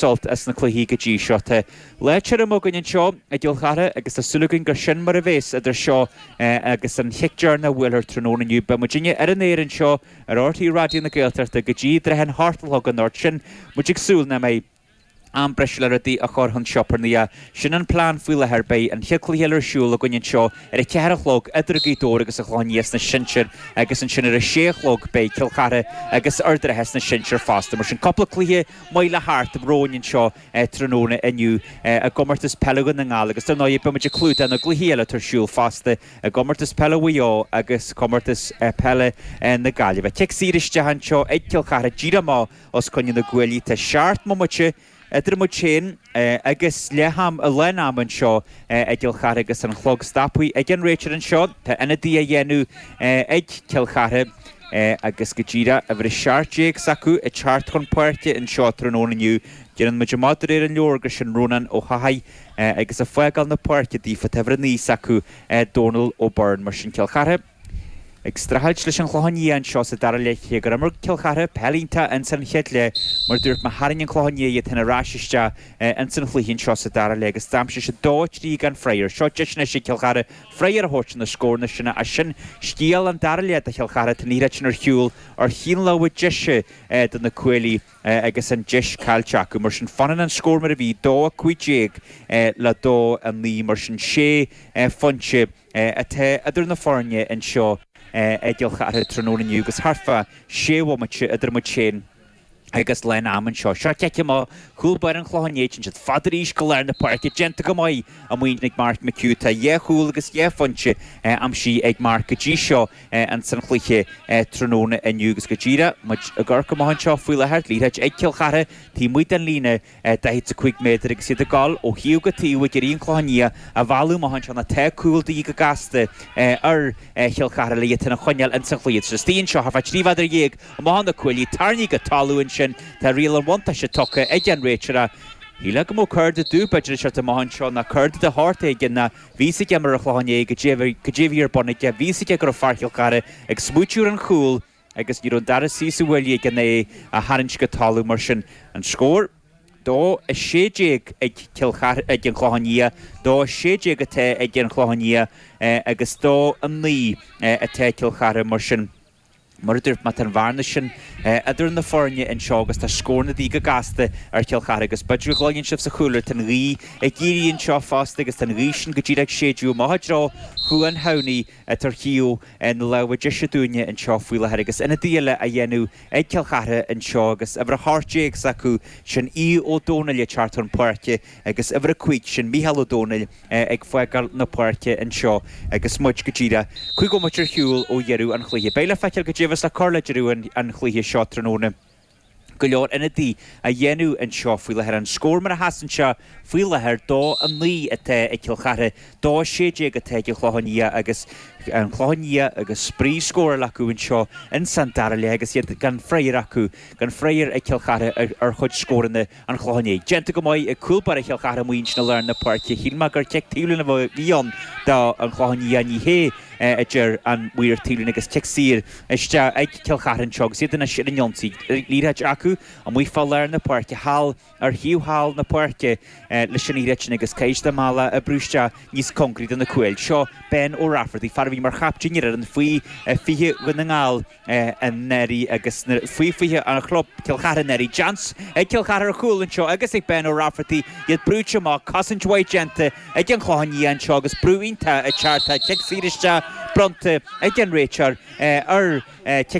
Sult as na cluichí go dtí seo. Tá lá tirim againn anseo i gCill Chartha agus tá súil againn gur sin mar a bhéas idir seo agus an chic deireanach a bhuailfear tráthnóna inniu. Beidh muidinne ar an aer anseo ar RTÉ Raidió na Gaeltachta go dtí i dtrátha an hocht a chlog anocht. Sin muid ag súil nach mbeidh am breise le rudaí a chur chun siopair ná sin an plean faoi láthair. Beidh an chéad chluiche eile ar siúl againn anseo ar a ceathair a chlog idir Gaoth Dobhair agus an Clochán Liath sna sinsir agus ansin ar a sé a chlog beidh Cill Chartha agus Ard an Rátha sna sinsir fosta. Mar sin cúpla cluiche maith le theacht romhainn anseo tráthnóna inniu i gComórtas Peile Dhún na nGall agus dar ndóigh beidh muid ag clúdach na gcluichí eile atá ar siúl fosta i gComórtas Peile Mhaigh Eo agus Comórtas Peile na Gaillimhe. Cic saor isteach anseo ag Cill Chartha díreach amach os coinne na gcuaillí. Tá seacht mbomaite idir muid féin agus leath am, lán ama anseo i gCill Chartha agus an clog stoptha ag an réiteoir anseo. Tá ionadaí á dhéanamh ag Cill Chartha agus go díreach uimhir 17 s'acu ag teacht chun páirce anseo tráthnóna inniu. Déanann muid amach de réir an leabhair gur sin Rónán Ó hEochaidh agus ag fágáil na páirce daofa tá uimhir 9 s'acu Dónal O'Byrne. Mar sin Cill Chartha ag streachailt leis an Chlochán Liath anseo sa dara leath cé gur imir Cill Chartha peil iontach ins an chéad leath mar dúirt mé tharraing an Clochán Liath iad féin ar ais isteach ins an chluiche anseo sa dara leath agus d'aimsigh siad 2, 3 gan freagra. Seo deis anois ag Cill Chartha freagra a thabhairt ar na scóranna sin ach sin scéal an dara leath do Chill Chartha tá an liathróid sin ar shiúl ar thaobh na láimhe deise do na Cuaillí agus an deis caillte acu. Mar sin fanann an scór mar a bhí, 2, 15 le 2, 9 mar sin sé phointe atá idir na foirne anseo i gCill Chartha tráthnóna inniu agus thart fá sé bhomaite idir muid féin agus lán ama anseo. Seo cic amach chúl báire an Chlocháin Léith, téann siad fada arís go lár na páirce, déanta go maith amuigh ag Mark McHugh. Tá dhá chúl agus dhá phointe aimsithe ag Mark go dtí seo ins an chluiche tráthnóna inniu agus go díreach muid ag amharc amach anseo faoi láthair, liathróid ag Cill Chartha taobh amuigh den líne 45 méadar agus iad ag dul ó thaobh go taobh ag iarraidh an Clochán Liath a mhealladh amach anseo nó tá cúl de dhíth go gasta ar Chill Chartha le iad féin a choinneáil ins an chluiche. Tá siad istigh anseo thart fá 13 mhéadar amach ó na cuaillí, tarraingthe go talamh ansin, tá riail an bhuntáiste tugtha ag an réiteoir ach shílfeá go mbeadh corda dubh b'fhéidir ag teacht amach anseo nó corda de shórt éigin nó bhí fhios ag imreoir an Chlocháin Léith goidé a bhí ar bun aige, bhí fhios aige go raibh fear Chill Chartha ag smaoitiú ar an chúl. agus ní raibh an dara suí sa bhaile aige ná é a tharraingt go talamh mar sin. An scór, 2, 16 ag Cill Chartha, ag an Chlochán Liath, 2, 16 atá ag an Chlochán Liath agus 2, 9 atá ag Cill Chartha mar sin. Mar a dúirt mé, tá an bhearna sin idir na foirne anseo agus tá scóranna de dhíth go gasta ar Chill Chartha agus b'fhéidir go gcluineann sibh sa chúlra, tá an ghaoth ag éirí anseo fosta agus tá an ghaoth sin go díreach ag séideadh amach i dtreo Chuan Shamhnaí atá ar thaobh na láimhe deise dúinne anseo faoi láthair agus ionadaí eile á dhéanamh ag Cill Chartha anseo agus uimhir 18 s'acu, sin Aodh Ó Domhnaill ag teacht chun páirce agus uimhir 5, sin Mícheál Ó Domhnaill ag fágáil na páirce anseo agus muid go díreach 5 bhomaite ar shiúl ó dheireadh an chluiche. Beidh le feiceáil goidé a bheas le cur le deireadh an chluiche seo tráthnóna. go leor ionadaí á dhéanamh anseo faoi láthair. An scór mar a sheasann sé faoi láthair, 2, 9 atá ag Cill Chartha, 2, 16 atá ag an Chlochán Liath agus an Clochán Liath agus spraoi scórála acu anseo ins an dara leath agus iad gan freagra acu, gan freagra ag Cill Chartha ar chuid scóranna an Chlocháin Léith. Déanta go maith ag cúl báire Chill Chartha amuigh ansin i lár na páirce. Shíl mé gur cic taobhlíne a bhí ann do an Chlochán Liath, ní hé a deir an maor taobhlíne agus cic saor isteach ag Cill Chartha anseo agus iad anois ar an ionsaí. Liathróid acu amuigh fá lár na páirce thall ar thaobh thall na páirce leis an liathróid sin agus caithfidh siad a mbealach a oibriú isteach níos cóngaraí do na cúil. Seo Ben Ó Raifeartaigh, fear a bhí mar chaptaen ar fhoireann faoi 20 Dhún na nGall anuraidh agus faoi 20 an chlub Cill Chartha anuraidh. Seans ag Cill Chartha ar chúl anseo agus ag Ben Ó Raifeartaigh, iad brúite amach, cosaint mhaith déanta ag an Chlochán Liath anseo agus brú iontach ag teacht. Tá cic saor isteach bronnta ag an réiteoir ar cic.